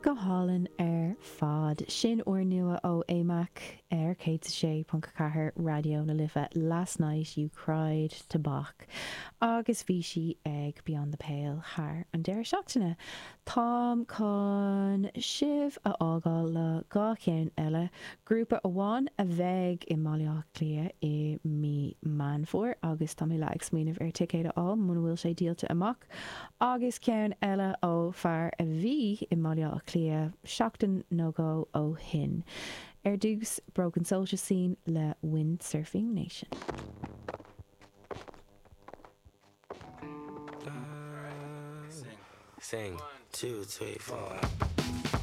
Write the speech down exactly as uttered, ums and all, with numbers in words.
Go hálainn ar fad. Sin úrnua ó AMAC ar céad a sé ponc a ceathair Raidió na Life Last Night You Cried to Bach agus bhí sí ag Beyond the Pale thar an deireadh seachtaine. Táim chun sibh a fhágáil le dhá cheann eile, grúpa amháin a bheidh i mBaile Átha Cliath i mí Meán Fómhair agus tá mé le ag smaoineamh ar ticéad a fháil muna bhfuil sé díolta amach, agus ceann eile ó fear a bhí i mBaile Átha Cliath seachtain nó dhó ó shin. Ar dtús Broken Social Scene le Windsurfing Nation. Sing. Two, three, four.